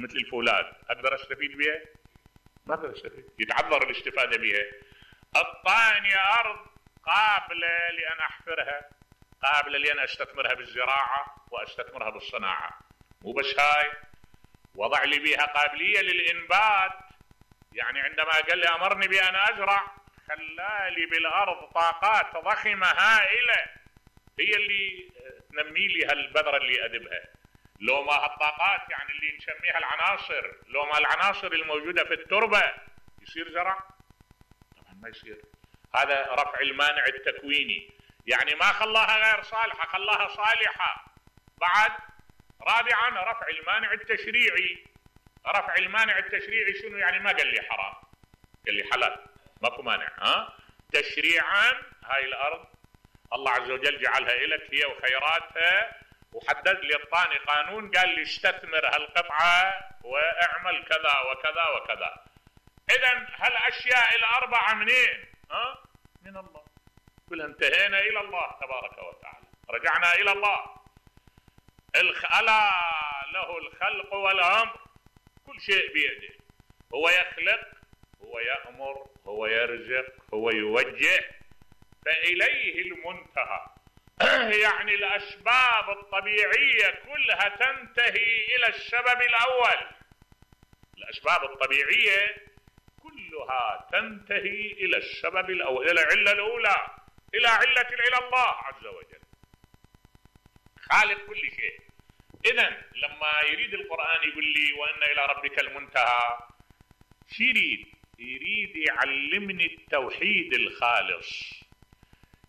مثل الفولاذ اقدر استفيد بها؟ ما اقدر استفيد، يتعذر الاستفاده بها. الطاني ارض قابله لان احفرها، قابله لان استثمرها بالزراعه واستثمرها بالصناعه. مو بس هاي، وضع لي بها قابليه للانبات. يعني عندما قال لي امرني بان ازرع، خلالي بالارض طاقات ضخمه هائله هي اللي تنمي لي هالبذره اللي اذبها. لو ما هالطاقات يعني اللي نسميها العناصر، لو ما العناصر الموجوده في التربه يصير زرع؟ طبعا ما يصير. هذا رفع المانع التكويني، يعني ما خلاها غير صالحه، خلاها صالحه. بعد رابعا رفع المانع التشريعي. رفع المانع التشريعي شنو يعني؟ ما قال لي حرام، قال لي حلال، ماكو مانع. تشريعا هاي الارض الله عز وجل جعلها لك هي وخيراتها، وحدد لي الطاني قانون، قال لي استثمر هالقطعه واعمل كذا وكذا وكذا. اذا هالاشياء الاربعه منين؟ من الله. كلها انتهينا الى الله تبارك وتعالى، رجعنا الى الله. الا له الخلق والامر، كل شيء بيده. هو يخلق، هو يأمر، هو يرزق، هو يوجه، فإليه المنتهى. يعني الأسباب الطبيعية كلها تنتهي إلى السبب الأول. الأسباب الطبيعية كلها تنتهي إلى السبب الأول، إلى العلة الأولى، إلى علة الله عز وجل، خالق كل شيء. إذن لما يريد القرآن يقول لي وأن إلى ربك المنتهى، شو يريد يعلمني التوحيد الخالص.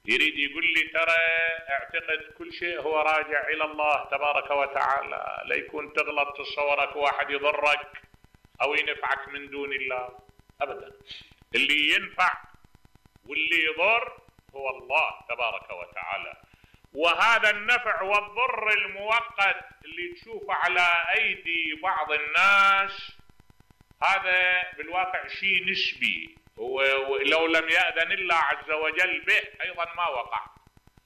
يريد يقول لي ترى اعتقد كل شيء هو راجع إلى الله تبارك وتعالى، لا يكون تغلط تصورك واحد يضرك أو ينفعك من دون الله أبدا. اللي ينفع واللي يضر هو الله تبارك وتعالى. وهذا النفع والضر المؤقت اللي تشوفه على أيدي بعض الناس، هذا بالواقع شيء نسبي، ولو لم يأذن الله عز وجل به أيضا ما وقع،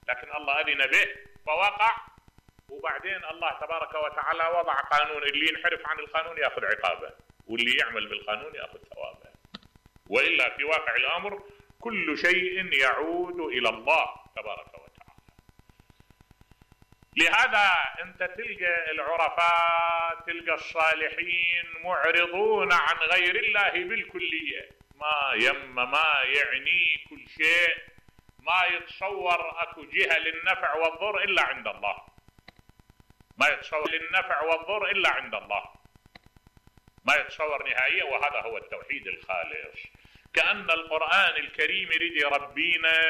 لكن الله أذن به فوقع. وبعدين الله تبارك وتعالى وضع قانون، اللي ينحرف عن القانون يأخذ عقابه، واللي يعمل بالقانون يأخذ ثوابه. وإلا في واقع الأمر كل شيء يعود إلى الله تبارك وتعالى. لهذا أنت تلقى العرفاء، تلقى الصالحين معرضون عن غير الله بالكلية، ما يعني كل شيء، ما يتصور أكو جهة للنفع والضر إلا عند الله، ما يتصور للنفع والضر إلا عند الله، ما يتصور نهائيا. وهذا هو التوحيد الخالص. كأن القرآن الكريم يريد يربينا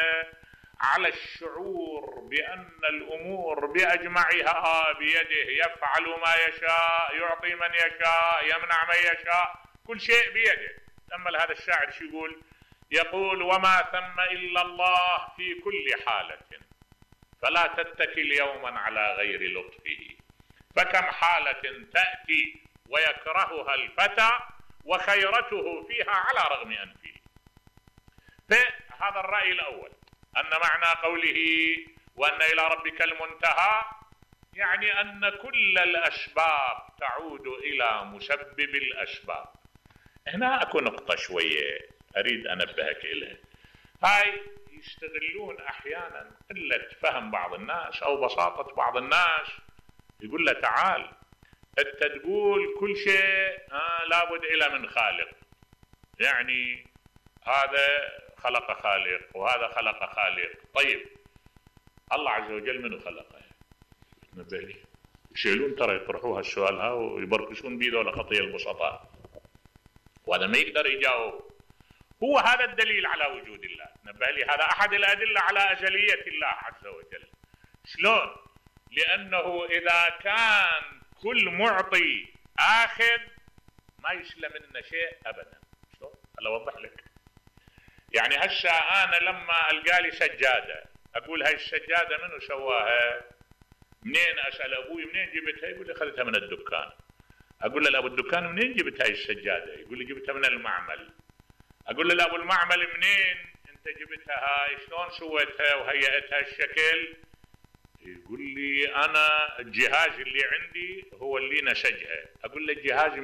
على الشعور بأن الأمور بأجمعها بيده، يفعل ما يشاء، يعطي من يشاء، يمنع من يشاء، كل شيء بيده. أما هذا الشاعر شو يقول؟ يقول وما ثم إلا الله في كل حالة، فلا تتكل يوما على غير لطفه، فكم حالة تأتي ويكرهها الفتى وخيرته فيها على رغم أنفه. فهذا الرأي الأول، أن معنى قوله وأن إلى ربك المنتهى يعني أن كل الأسباب تعود إلى مسبب الأسباب. هنا أكو نقطة شوية أريد أنبهك إليها. هاي يستغلون أحيانا قلة فهم بعض الناس أو بساطة بعض الناس، يقول له تعال أنت تقول كل شيء لابد إلى من خالق، يعني هذا خلق خالق وهذا خلق خالق. طيب الله عز وجل منو خلقه؟ تنبه لي. يشيلون ترى يطرحوها السؤال ها ويبركشون بيده لخطية البسطاء، وهذا ما يقدر يجاوب. هو هذا الدليل على وجود الله. نبه لي هذا أحد الأدلة على أزلية الله عز وجل. شلون؟ لأنه إذا كان كل معطي آخذ ما يسلم منه شيء أبدا. شلون؟ هلا أوضح لك. يعني هسه أنا لما ألقى لي سجادة أقول هاي السجادة منو سواها؟ منين؟ أسأل أبوي منين جبتها؟ يقول لي أخذتها من الدكان. أقول له لأبو الدكان منين جبت هاي السجادة؟ يقول لي جبتها من المعمل. أقول له لأبو المعمل منين أنت جبتها هاي؟ شلون سويتها وهيئتها الشكل؟ يقول لي أنا الجهاز اللي عندي هو اللي نسجها. أقول له الجهاز